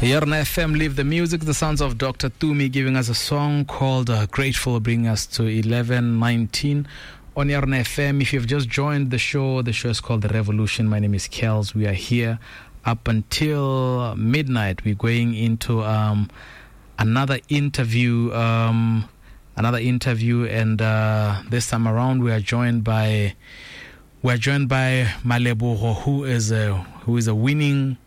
Yarona FM, leave the music, the sounds of Dr. Tumi giving us a song called Grateful, bringing us to 11:19 on Yarona FM. If you've just joined the show is called The Revolution. My name is Kels. We are here up until midnight. We're going into another interview, and this time around we are joined by Malebogo, who is a winning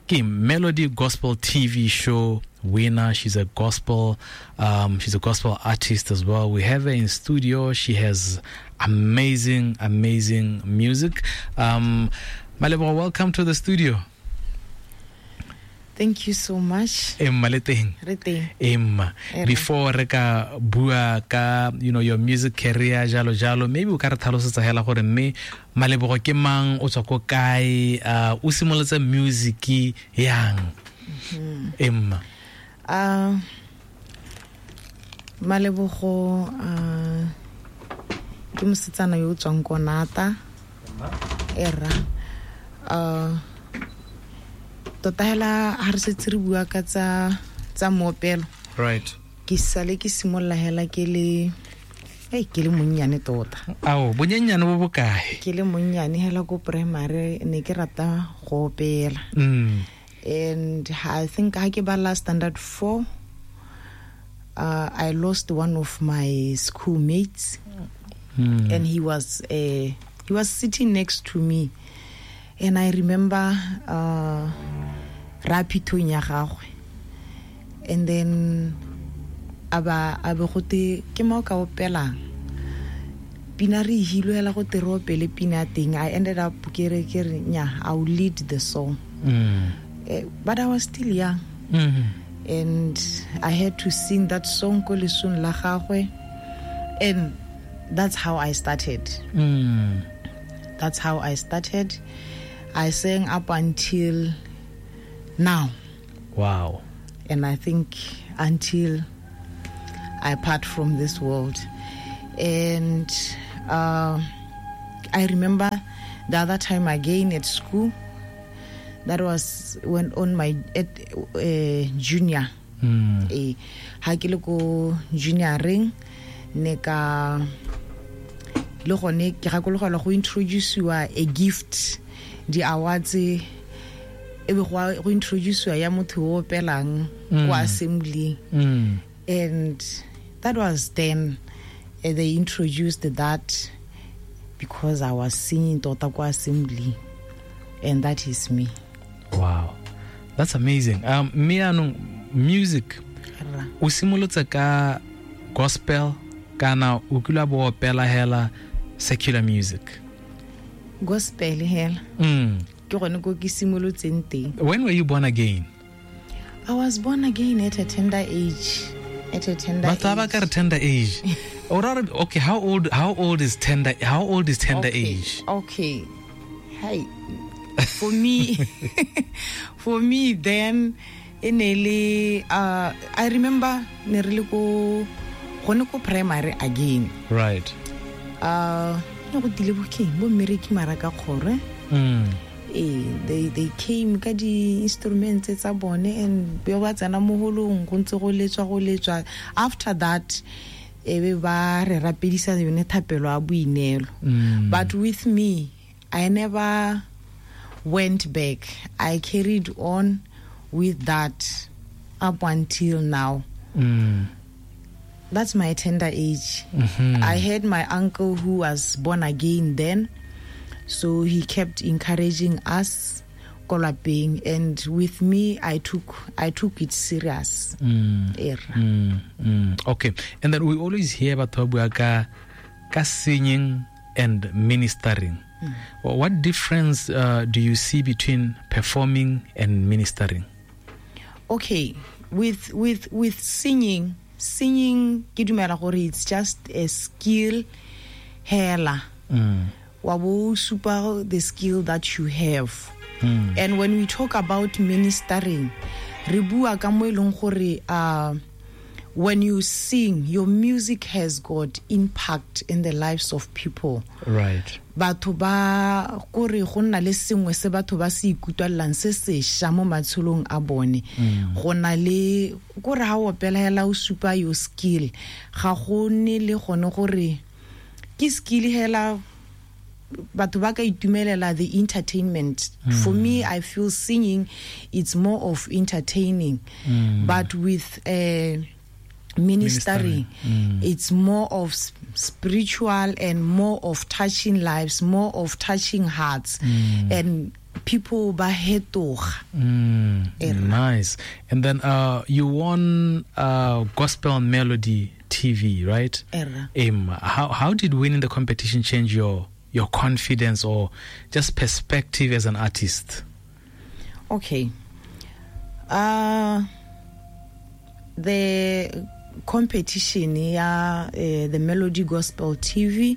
Melody Gospel TV show winner. She's a gospel artist as well. We have her in studio. She has amazing music. Malebogo, welcome to the studio. Thank you so much. Emma le teng. Re teng. Emma, before re ka bua ka, you know, your music career jalo jalo, maybe o ka re tlhalosetsa hela gore mme Malebogo ke mang, o tswa ko kae, o simolotse music yang? Emma. Malebogo ke mosetsana yo o tswang ko Nata. Era. Tota hela ha re setse re bua ka tsa moopelo. Right. Ke sale ke simolola hela ke le monnyane tota. Ao, bonyenyane bo bokae? Ke le monnyane hela ko primary, ne ke rata go opela. And I think ha ke bala standard 4, I lost one of my schoolmates. And he was sitting next to me. And I remember rapithong ya gagwe. And then aba gote ke mo ka opelang. Pina re hilwe hela go te re opele pina teng. I ended up ke re nya, I will lead the song. But I was still young. And I had to sing that song ko lesong la gagwe. And that's how I started. That's how I started. I sang up until now. Wow. And I think until I part from this world. And I remember the other time again at school, that was when on my junior. Ha ke le ko junior ring, ne ka le gone ke gakologelwa go introduce-iwa a gift, di awards e be go introduce-iwa ya motho o opelang ko assembly. And that was then they introduced that because I was singing tota ko assembly, and that is me. Wow, that's amazing. Mme anong music o simolotse ka gospel kana o kile bo opela hela secular music? Gospel hela. Ke gone ko ke simolotseng teng. When were you born again? I was born again at a tender age. At a tender age. Batho ba ka re tender age. Okay, how old is tender age? Okay. Hey. For me then e ne le I remember ne re le ko gone ko primary again. Right. Ne go tile bokeng bo mmereki mara ka kgore. They came ka di instruments tsa bone and be ba tsena mo holong go ntse go letswa. After that e be ba re rapedisa yone thapelo a boineelo. But with me I never went back. I carried on with that up until now. That's my tender age. I had my uncle who was born again then, so he kept encouraging us ko lapeng, and with me I took it serious. Okay. And then we always hear about bua ka singing and ministering. Well, what difference do you see between performing and ministering? Okay, with singing ke dumela gore it's just a skill hela. Wa bo supa the skill that you have. And when we talk about ministering, re bua ka mo e leng gore When you sing, your music has got impact in the lives of people. Right. Batho ba kore go nna le sengwe se batho ba se ikutlwelelang se sešwa mo matshelong a bone. Go na le kore ha o opela hela o supa your skill, ga go nne le gone gore ke skill hela batho ba ka itumelela the entertainment. For me, I feel singing, it's more of entertaining. But with ministering, it's more of spiritual and more of touching lives, more of touching hearts, and people ba hetoga. Nice. And then you won Gospel Melody TV, right? How did winning the competition change your confidence or just perspective as an artist? Okay. The competition ya the Melody Gospel TV,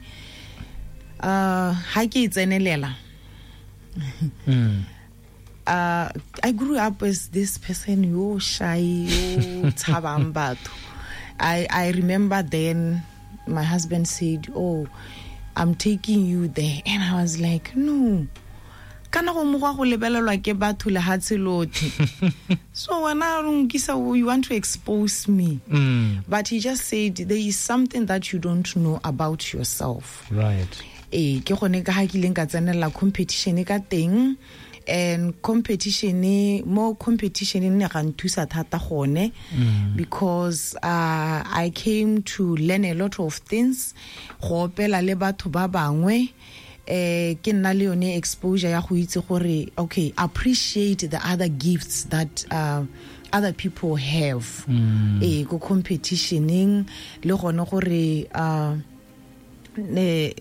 ha ke tsenelela. I grew up as this person yo shy, yo tshabang batho. I remember then my husband said, "Oh, I'm taking you there," and I was like, "No. Kana go mo go lebelelwa ke batho lehatshe lotlhe. So wena o nkisa, you want to expose me." But he just said, there is something that you don't know about yourself. Right. Ke gone ka ha ke ileng ka tsenela competition ka teng, and competition mo competition ne ga nthusa thata gone, because I came to learn a lot of things, go opela le batho ba bangwe. Ke nna le yone exposure ya go itse gore, okay, appreciate the other gifts that other people have. Go competitioning le gone gore ne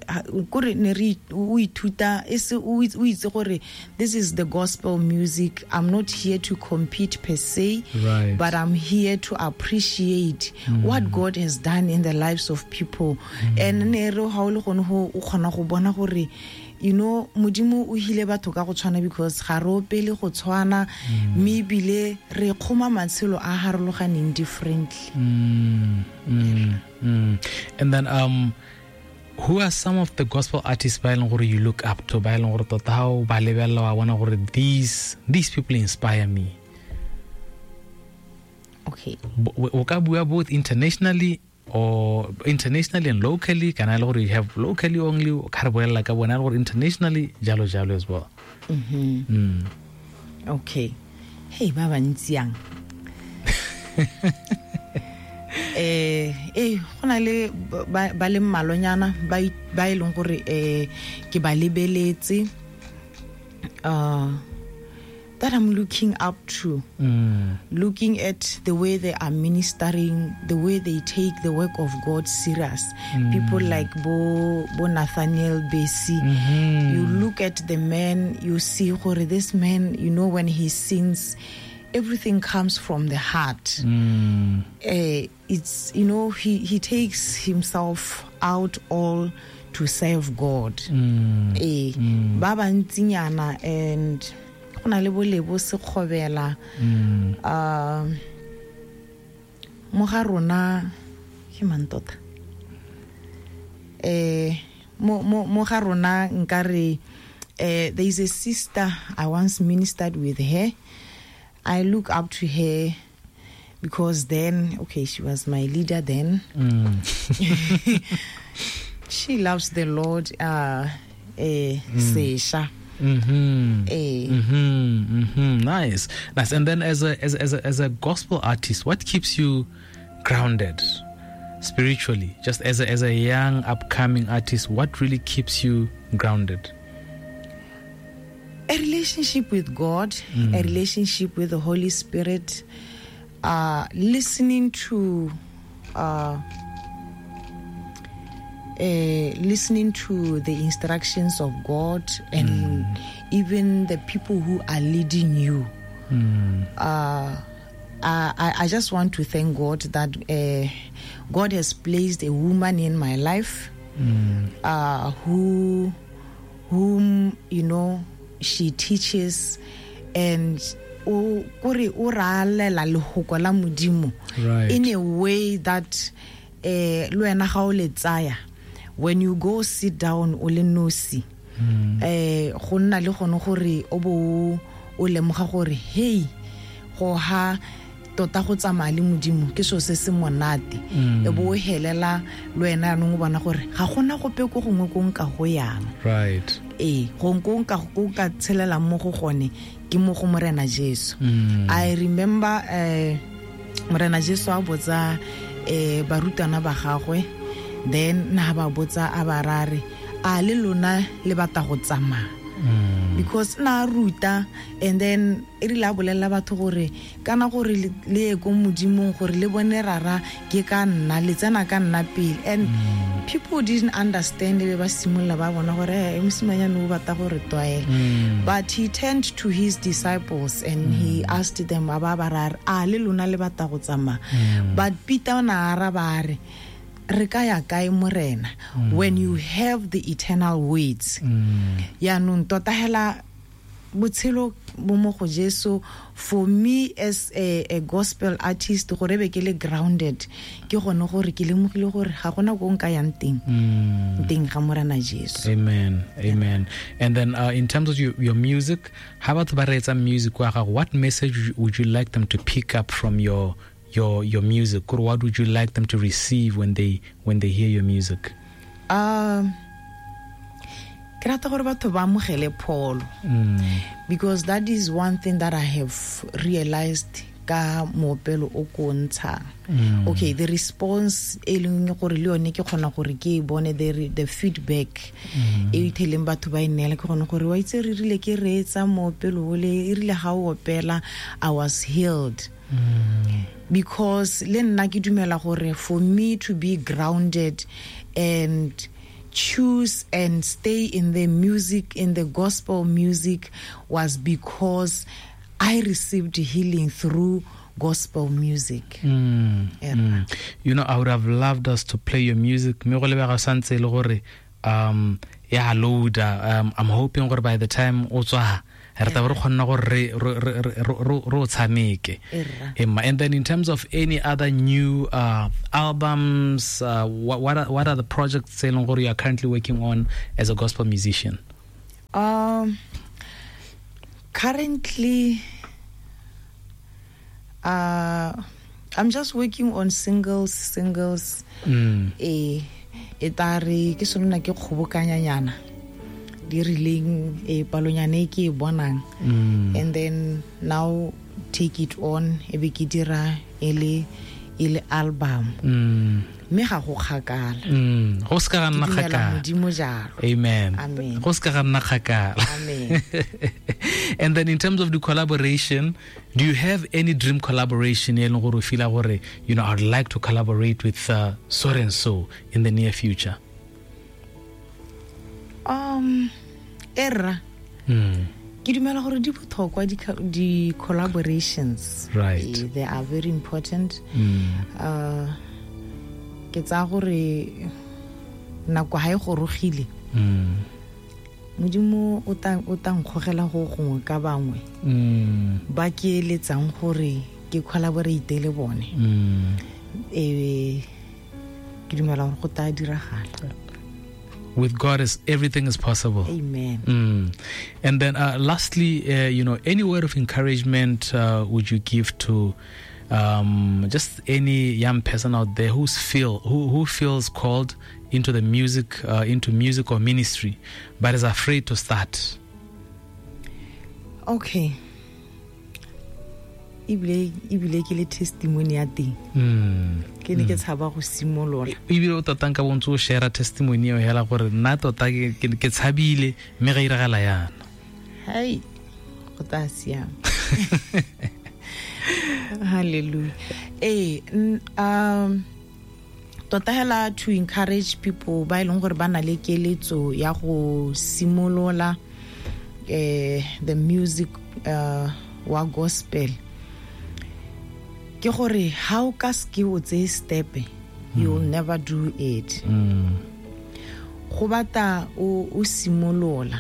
kore ne re o ithuta e se o itse gore this is the gospel music. I'm not here to compete per se, right, but I'm here to appreciate what God has done in the lives of people. And ne re ha o le gone ho o kgona go bona gore, you know, Modimo o hile batho ka go tshwana, because ga re opele go tshwana, mme ebile re kgoma matshelo a harologaneng differently. And then who are some of the gospel artists ba e leng gore you look up to, ba e leng gore tota ha o ba lebella wa bona gore these people inspire me? Okay. O ka bua both internationally or internationally and locally, kana le gore you have locally only, o ka re bolela ka bona le gore internationally jalo jalo as well. Okay. Hey, ba bantsi yang. Go na le ba le mmalonyana ba e leng gore ke ba lebeletse, that I'm looking up to, looking at the way they are ministering, the way they take the work of God serious. People like Bo Nathaniel Bassey. You look at the man, you see gore this man, you know, when he sings, everything comes from the heart. It's, you know, he takes himself out all to serve God. Ba bantsinyana, and go na le bo Lebo Sekgobela. Mo ga rona ke mang tota? Mo ga rona nkare, there is a sister I once ministered with her. I look up to her because then, okay, she was my leader then. She loves the Lord. Sesha. Nice, nice. And then, as a gospel artist, what keeps you grounded spiritually? Just as a young upcoming artist, what really keeps you grounded? A relationship with God, a relationship with the Holy Spirit, listening to the instructions of God, and even the people who are leading you. I just want to thank God that God has placed a woman in my life, whom, you know, she teaches, and O kore o ralela lehoko la Modimo in a way that le wena ga o le tsaya, when you go sit down o le nosi, go nna le gone gore o bo o lemoga gore hey, go ha tota go tsamaya le Modimo ke so se se monate. E bo o helela le wena yanong o bona gore ga gona gope ko gongwe ko nka go yang. Right. Gongwe ko nka go ka tshelelang mo go gone ke mo go Morena Jesu. I remember Morena Jesu a botsa barutwana ba gagwe, then na ba botsa a ba rare a le lona le batla go tsamaya. Because na ruta, and then e rile a bolelela batho gore kana gore le ye ko Modimong gore le bone rara ke ka nna, le tsena ka nna pele. And people didn't understand, be ba simolola ba bona gore mosimanyane o batla gore tlwaela. But he turned to his disciples and he asked them, a ba ba rare a le lona le batla go tsamaya. But Peter o na araba a re, re ka ya kae Morena, when you have the eternal words. Yaanong tota hela botshelo bo mo go Jesu. For me as a gospel artist, gore be ke le grounded, ke gone gore ke lemogile gore ga gona ko nka yang teng, teng ga Morena Jesu. Amen, amen. And then in terms of your music, how about ba reetsa music wa gago, what message would you like them to pick up from your music, or what would you like them to receive when they hear your music? Ke rata gore batho ba amogele pholo, because that is one thing that I have realized ka moopelo o ko ntshang. Okay, the response e leng gore le yone ke kgona gore ke e bone, the feedback e itheleng batho ba e neela, ke gone gore wa itse re rile ke reetsa moopelo ole, e rile ga o opela I was healed. Because le nna ke dumela gore for me to be grounded and choose and stay in the music, in the gospel music, was because I received healing through gospel music. You know, I would have loved us to play your music. I'm hoping gore by the time o tswa re tla re kgonna gore re o tshameke. And then in terms of any other new albums, what are the projects tse leng gore you are currently working on as a gospel musician? Currently, I'm just working on singles. E tare ke sona ke kgobokanyanyana di rileng e palonyane ke e bonang, and then now take it on e be ke dira e le album. Mme ga go kgakala. Go se ka ga nna kgakala. Modimo jalo. Amen. Amen. Go se ka ga nna kgakala. Amen. And then in terms of the collaboration, do you have any dream collaboration e leng gore o feel gore, you know, I'd like to collaborate with so and so in the near future? Erra. Ke dumela gore di botlhokwa di collaborations. Right. They are very important. Ke tsaya gore nako ha e gorogile, Modimo o tla nkgogela go gongwe ka bangwe ba ke eletsang gore ke collaborate le bone. Ke dumela gore go tla diragala. With God, everything is possible. Amen. And then lastly, you know, any word of encouragement would you give to just any young person out there who feels called into the music, into music or ministry, but is afraid to start? Okay. Ebile ke le testimony ya teng. Ke ne ke tshaba go simolola. Ebile o tota nka bontse o share testimony eo hela gore nna tota ke tshabile mme ga iragala yana. Hai, go tla siama. Hallelujah. Tota hela to encourage people ba e leng gore ba na le keletso ya go simolola the music wa gospel, ke gore ha o ka ske o tseye step, you will never do it. Go batla o simolola.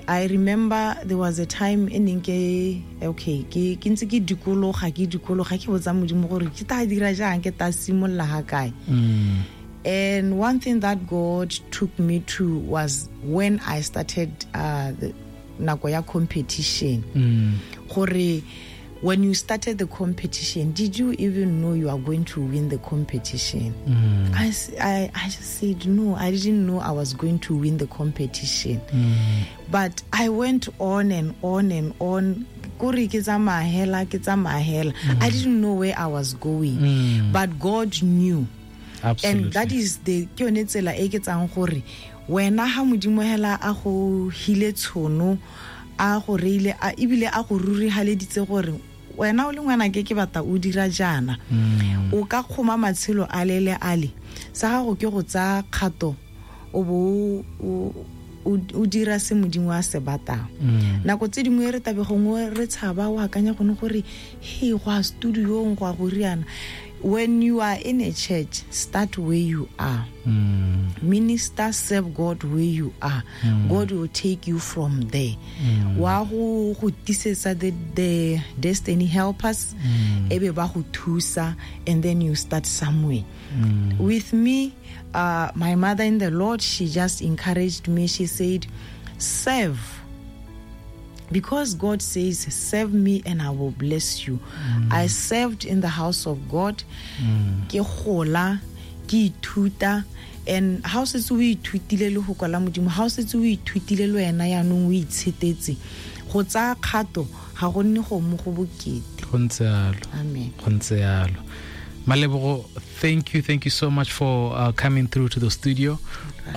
I remember there was a time e neng ke okay ke ntse ke dikologa ke botsa Modimo gore ke ta dira jang, ke ta simolola ha kae. And one thing that God took me to was when I started the nako ya competition. Gore when you started the competition, did you even know you are going to win the competition? I just said, no, I didn't know I was going to win the competition. But I went on and on and on. I didn't know where I was going. But God knew. Absolutely. And that is the ke yone tsela e ke tsang gore wena ha Modimo hela a go hile tshono, a go reile, a ebile a go rurihaleditse gore wena o le ngwana ke batla o dira jana, o ka kgoma matshelo a lele ale sa gago ke go tsaya kgato o bo o dira se Modimo a se batlang. Nako tse dingwe re tabe gongwe re tshaba o akanya gone gore he go a studiong go a go riana. When you are in a church, start where you are. Minister, serve God where you are. God will take you from there. Wa go tisetsa the destiny helpers, ebe ba go thusa, and then you start somewhere. With me, my mother in the Lord, she just encouraged me. She said, serve. Because God says, serve me and I will bless you. I served in the house of God. Ke gola, ke ithuta, and ha o setse o ithutile le go kwala Modimo, ha o setse o ithutile le wena yaanong o itshetetse, go tsaya kgato ga go nne go mo go bokete. Go ntse yalo. Amen. Go ntse yalo. Malebogo, thank you so much for coming through to the studio.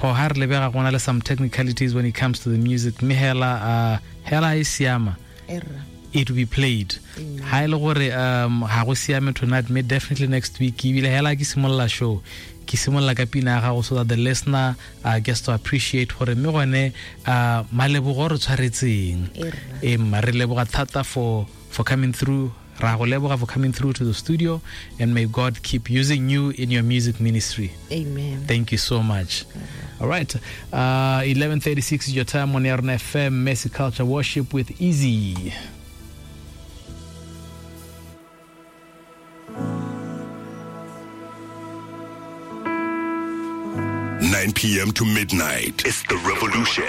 Go ha re lebega go na le some technicalities when it comes to the music. Mme hela hela e siama, it will be played. Ha ile gore ha go siame tonight, me definitely next week ebile hela ke simolola show, ke simolola ka pina ya gago so that the listener gets to appreciate gore mme gone Malebogo re tshwaretseng. Mma re leboga thata for coming through. Ra go leboga for coming through to the studio, and may God keep using you in your music ministry. Amen. Thank you so much. All right. 11:36 is your time on Yarona FM, Mercy Culture Worship with Easy. 9 p.m. to midnight. It's the revolution.